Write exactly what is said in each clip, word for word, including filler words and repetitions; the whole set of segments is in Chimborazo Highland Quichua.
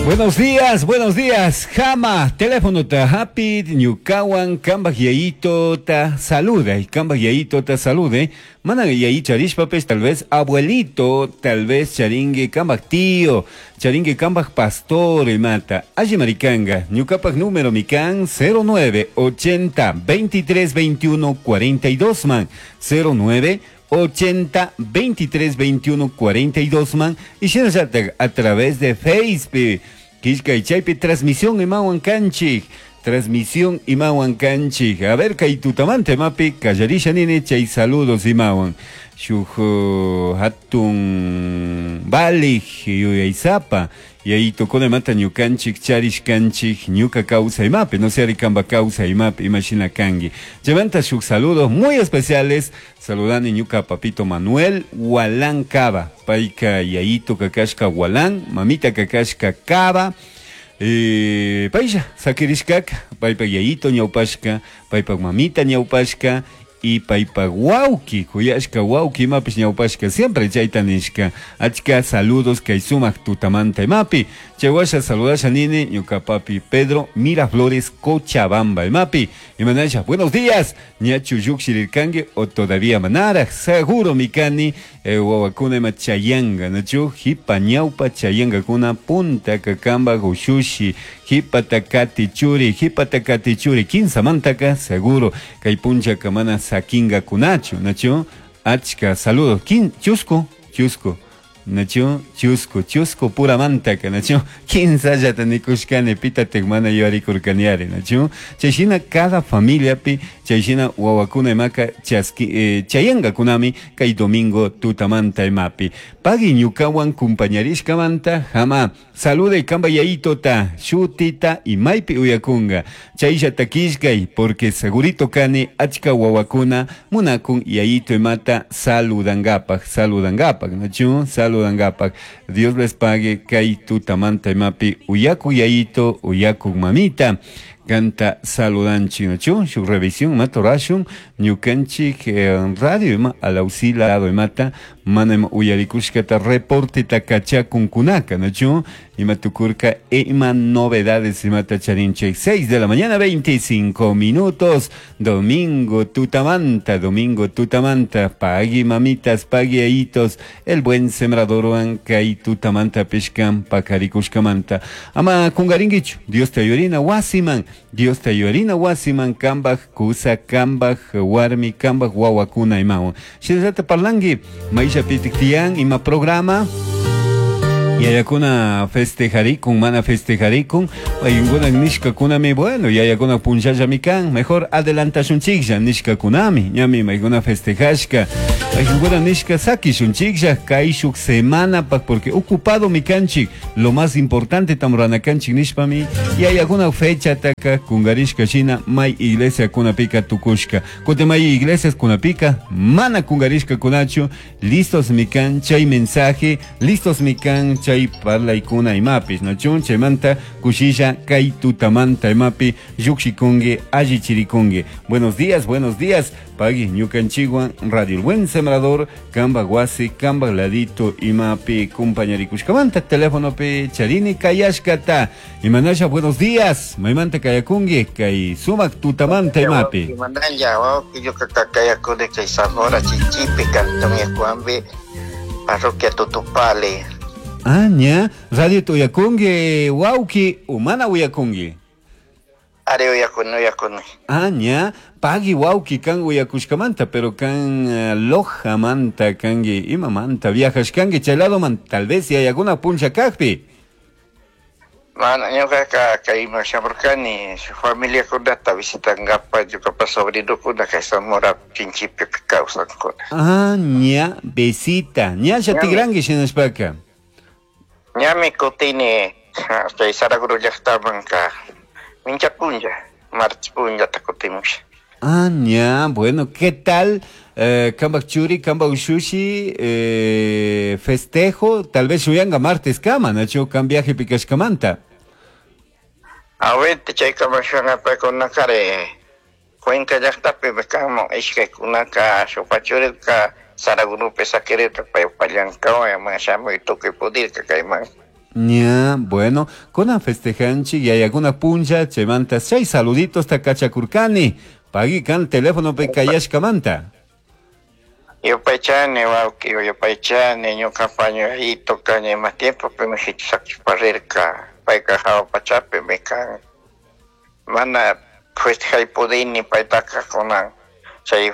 Buenos días, buenos días. Jama, teléfono ta happy, ñukawan, kambaj yayito ta saluda. Y kambaj yayito ta salude. Mana yayi charishpapes, tal vez abuelito, tal vez charingue kambaj tío, charingue kambaj pastor mata. Alli maricanga, ñukapak número mikan cero nueve ochenta veintitrés veintiuno cuarenta y dos man, cero nueve ochenta veintitrés veintiuno cuarenta y dos man, y shinallatag a través de Facebook. Kishka y chaypi transmisión imawan kanchik, transmisión imawan kanchik. A ver, kay tutamante mapi, kallarisha nini, chay saludos imawan. Shuj hatun balij yuyaysapa, yayito mata ñukanchik, charish kanchik, ñuka causa imapi, no sé arikamba causa imapi, imagina kangi. Levanta sus saludos muy especiales, saludani ñuka papito Manuel Walán Cava, paika yayito kakashka Walán, mamita kakashka Cava, eh, paisha, sakirishkak, paipa yayito ñaupashka, paipa mamita ñaupashka, y paipa wauki, kuyashka wauki imapis ñaupashka, siempre chayta nishka. Achka saludos kay sumak tutamanta imapi. Chaywasha saludasha nini, ñuka papi Pedro Miraflores Cochabamba imapi. Imanasha, buenos días, ñachu yukshirirkangue o todavía manara, seguro mikani, eh, wawakuna ima chayanga, nachu, hipa ñaupa chayanga kuna punta kakamba gushushi, hipa takati churi, hipa takati churi, kinsa mantaka, seguro, kay puncha kamana sakinga kunachu, nachu, achka, saludos, kin, chusco, chusco, nachu, chusco, chusco pura mantaka, nachu, kinsallata nikushkani, pita tegmana yuarikurkaniari, nachu, chayshina cada familiapi, chayshina wawakuna imaka chaski, eh, chayanga kunami, kay domingo tutamanta imapi. Pagui ñukawan kumpañarishkamanta, jama, salude kamba yayitota, shutita y maypi uyakunga. Chayllata kishkay, porque segurito kani, achka wawakuna, munakun yayito imata saludangapak, saludangapak, nachu, saludangapak. Dios les pague, kay tutamanta imapi, uyaku yayito, uyaku mamita. Canta saludanchi, nachu, su revisión, matorashun, ñukanchik, eh, radio ima, alausila, imata, mana ima uyarikushkata reporte takachakun kunaka, nachu, ima tukurka, e ima novedades, imata charinche, seis de la mañana, veinticinco minutos, domingo tutamanta, domingo tutamanta, pagui mamitas, pagui aitos, el buen sembrador kay tutamanta pishkan, pakarikushkamanta, ama kungaringichu, Dios te ayurina, wasiman, Dios te ayurina, wasiman, kambaj, kusa, kambaj, warmi, kambaj, wawakuna, imawan. Shinallata parlangi, maisha pitiktian, ima programa, yayakuna festejarikun, mana festejarikun, paykuna nishka kunami, bueno, yayakuna punchallami kan, mejor adelantashunchiklla nishka kunami, ñami maykuna festejashka, paykuna nishka sakishunchiklla, kayshuk semana pak, porque ocupado mi kanchik, lo más importante tamranakanchik nishpami, yayakuna fecha taka kungarishka shina, may iglesia kunapika tukushka, kote may iglesias kunapika, mana kungarishka kunachu, listos mi kan, chay mensaje, listos mi kan, chay parlaykuna imapis, nachun chaymanta kushilla kay tutamanta imapi llukshikungi allichirikungi. Buenos días, buenos días, pagui ñukanchikwan Radio El Buen Sembrador, kamba wasi, kamba ladito imapi kumpañarikushkamanta, teléfono pe charini kayashkata. Imanasha, buenos días, maymanta kayakungi, kay sumak tutamanta imapi. Imanalla, wawqi ñuka kayakuni kay Zamora Chinchipe, cantón Yacuambi, parroquia Tutupale. Ah, ña, radio tuyakungi, wauki, umana uyakungi. Are uyakuni, uyakuni. Ah, ña, pagui wauki kan uyakushkamanta, pero kan uh, Lojamanta kangi, imamanta, viajashkangi, chay lado man, tal vez yayakuna puncha kajpi. Mana, ñuka kayman shamurkani, familia kunata visitangapa, ñukapa sobrinokuna kay Zamora Chinchipe kawsankuna. Ah, ña, besita, ña, shatigrangi shinashpaka. Ñami kutini chay Saraguro llaqtamanka mincha punlla, martes punllata kutimusha. Ah, ña, bueno, ¿qué tal? Eh, kambak churi, kambak ushushi, eh, festejo, tal vez shuyanga martes kama, nacho, kan viaje pikashkamanta. Awete chay kama shuyanga paykunakari, Cuenca llaqtapi kamo ishkaykunaka shupachurika Saragurupi sakirirka paypa llankawan shamuy tukuy pudirka kayman. Ña, bueno, kunan festejanchik yayakuna punlla chaymanta chay saluditos takachakurkani. Pagui kan teléfono pe kayashkamanta. Yupaychani wawqi, yupaychani ñuqapa ñuqayito kani ima tiempo pe sakchiparirka payqa hawa pachapi mi kan mana festejay pudini paytaqa kunan chay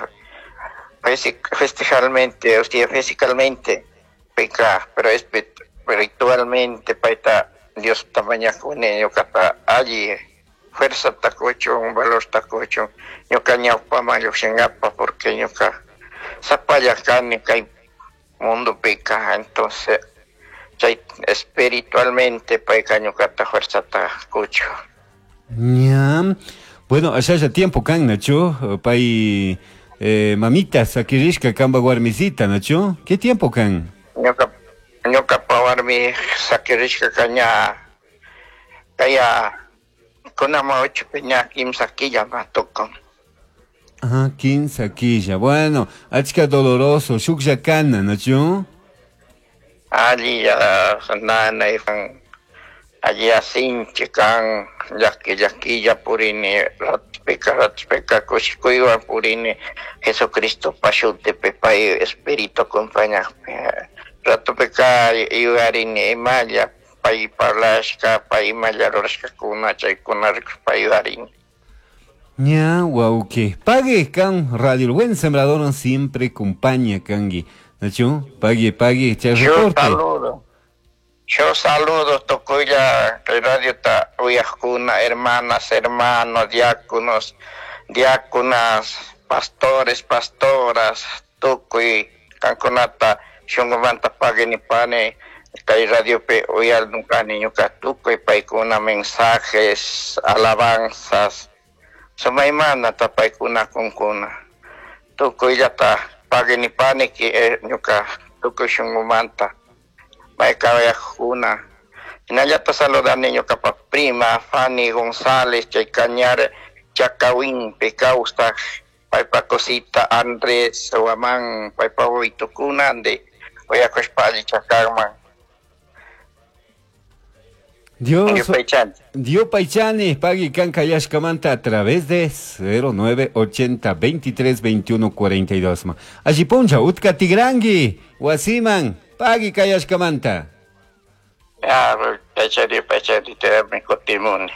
festejalmente, o sea, físicamente payqa, pero espiritualmente payta Dios tamañakuni ñuqata alli fuerza takuchun, valor takuchun ñuqa ñawpaman lluqshinqapa porque ñuqa sapalla kani kay mundo pika, entonces chay espiritualmente payqa ñuqata fuerza takuchu. Ña, bueno, allá ya tiempo kan, Nacho, pay eh, mamita sakirishka kamba warmisita, Nacho, ¿qué tiempo kan? Ñuqa ñuqapa warmi sakirishka kaña kaya kunama ocho peña kimsa killa matukun. Ah, quince quilla. Bueno, achka doloroso, shuklla kana, ¿no? Alli ya nana ifan alli asinchi kan llaki llakilla purini ratpika ratpika kushikuywan purini Jesucristo pashutipi pay espíritu acompañaqpi ratupika yuyarini imalla pay parlashka pay imalla rurashkakuna chaykuna rikushpa yuyarini. Ña, wauke. Pague kan Radio El Buen Sembrador siempre acompaña kangi. Nacho, pague, pague, chay reporte. Yo saludo. Yo saludo tokuya radio ta uyajkuna, hermanas, hermanos, diáconos, diáconas, pastores, pastoras, tukuy kankunata shunqumanta pague ni pane kay radio pe uyal nukani ñuka tukuy paykuna mensajes, alabanzas. Sumaymana tapaykuna kunkuna tukuyllata pagini paniki ñuka tukuy shunqumanta maykawayaqkuna hinallata saludani ñuqapa prima Fanny González chay Cañar Chacawinpi kawsaq paypa cosita Andrés Huamán paypa wawaytukuna ande uyakushpa allichakaqman. Dios, Dios Paichani, pagui kan kayashkamanta a través de cero nueve ochenta veintitrés veintiuno cuarenta y dos. Allí poncha, utka tigrangi, wasiman, pagui kayashkamanta. Ya, Paichani, Paichani, te me kotimuni.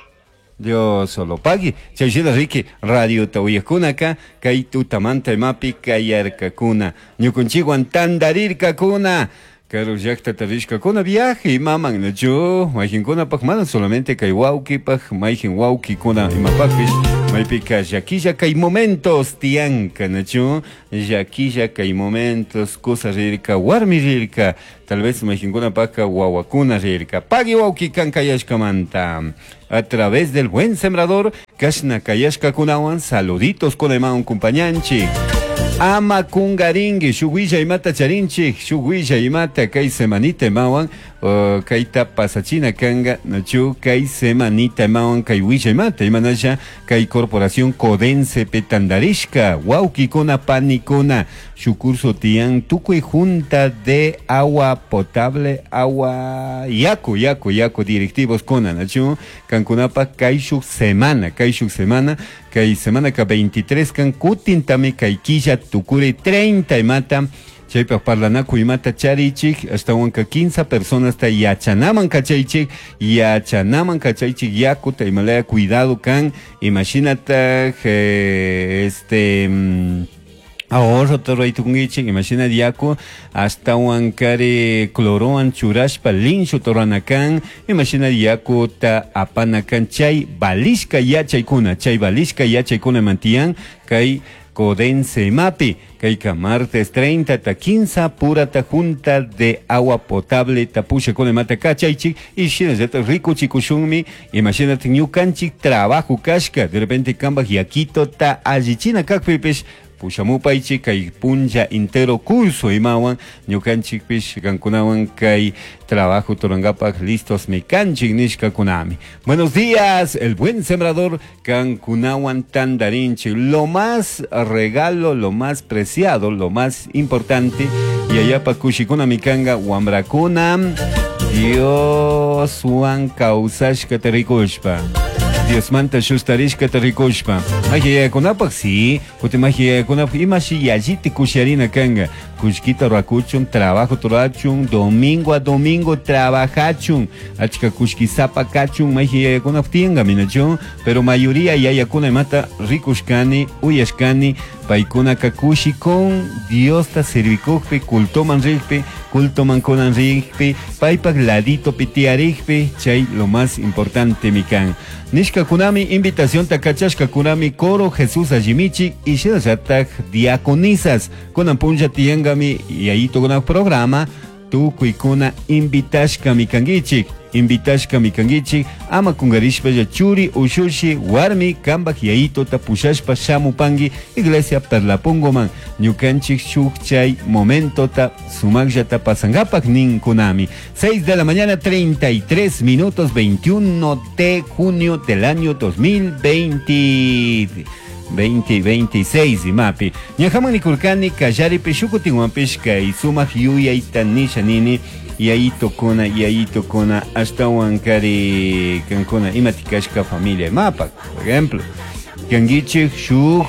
Dios solo pagui. Chayshina riki, radio tawiyakuna kay tutamanta imapi kayarkakuna. Ñukunchikwan tandarirkakuna. Karo llaqta tarishkakuna viaje imaman nachu mayqinkunapaq mana solamente kay wawqipaq mayqin wawqikuna imapaqpis maypika llakilla kay momentos tiyanka nachu llakilla kay momentos kusa rirka warmi rirka tal vez mayqinkunapaqqa wawakuna rirka pagui wawqi kan kayashkamanta a través del Buen Sembrador kashna kayashkakunawan saluditos kunayman kumpañanchik. Ama kungaringi, shuguilla imata charinchik, shuguilla imata kay semanita imawan, uh, kayta pasachina kanga, nachu kay semanita imawan, kay willa imata, imanasha, kay corporación Codense petandarishka, wawkikuna panikuna, shukurso tiyan, tukuy junta de agua potable, agua, yaku, yaku, yaku, directivos kuna, nachu, kankunapa kay shuk semana, kay shuk semana, kay semana ka veintitrés kan kutintami kay killa tukuri treinta imata chaypaq parlanaku imata charichik ashtawanka quince personas ta yachanaman kachaychik yachanaman kachaychik yakuta imalaya cuidado kan imashinataq eh, este ahorro torraytukunkichik imashina yaku ashtawankari clorowan churashpa linshu toranakan imashina yakuta apanakan chay balishka yachaykuna chay balishka yachaykuna mantiyan kay Codense imapi kayka martes treinta ta quince purata junta de agua potable tapusha con imata kachaychik y shinallata rikuchikushunmi imashinata ñukanchik trabajo kashka de repente kambaj yakito ta allichina kakpipish pushamupaychik kay punlla entero curso imawan ñukanchikpish kankunawan kay trabajo turangapak listos mikanchik nishkakunami. Buenos días, el buen sembrador kankunawan tandarinchik, lo más regalo, lo más preciado, lo más importante y allá pa kushikuna mikanga wambrakuna. Dioswan kawsashkata rikushpa Diosmanta shustarishkata rikushpa Maji yayakunapaj si kutin maji yayakunapaj imashi yalliti kusharina kanga kullkita rurakuchun trabajo rurachun domingo a domingo trabajachun achka kullkisapa kachun maji yayakunapaj tiyanka minachu pero mayoría yayakuna imata rikushkani uyashkani paykunaka kushikun Diosta sirvikukpi cultoman rikpi cultoman kunan rikpi paypak laditopi tiyarikpi chay lo más importante mi kan nishkakunami invitacionta kachashkakunami coro Jesús Allimichi y shinallatak diaconisas kunan punlla tiyankami yayitukunak programa tukuykuna invitashkami kankichik invitashkami kankichik ama kungarishpalla churi ushushi warmi kambak yayituta pushashpa shamupanki iglesia Perlapongoman ñukanchik shuk chay momentota sumakllata pasankapak ninkunami seis de la mañana treinta y tres minutos veintiuno de junio del año dos mil veinte veinte veintiséis imapi ñajaman nikurkani kallaripi shukutinwanpish kay sumak yuyayta nisha nini yayitokuna yayitokuna ashtawan kari kankuna imatikashka familia imapak por ejemplo kankichik shuk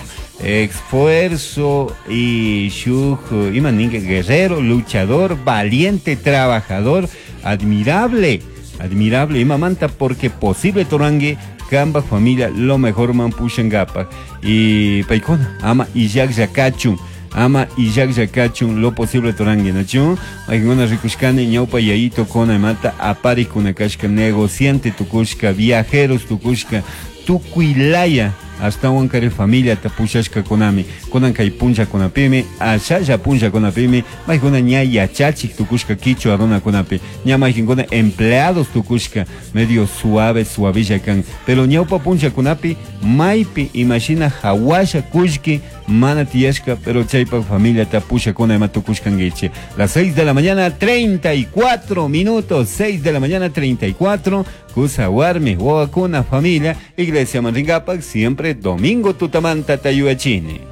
esfuerzo y shuk ima ninka guerrero luchador valiente trabajador admirable admirable imamanta porque posible torangue kamba familia lo mejor man pushangapak y paykuna ama illakllakachun ama illakllakachun lo posible torangue nachu paykuna rikushkani ñawpa yayito kona imata aparikuna kashka negociante tukushka viajeros tukushka tukuylaya ashtawan kari familia ta pushashkakunami kunan kay punllakunapimi ashalla punllakunapimi maykuna ña yachachik tukushka kichwa runakunapi ña maykinkuna empleados tukushka medio suave suavilla kan pero ñawpa punllakunapi maypi imashina hawasha kullki mana tiyashka pero chaypak familia ta pushakuna ima tukushkankichik las seis de la mañana treinta y cuatro minutos seis de la mañana treinta y cuatro kusa warmi wawakuna familia iglesia manrinkapak siempre domingo tutamanta tayuachini.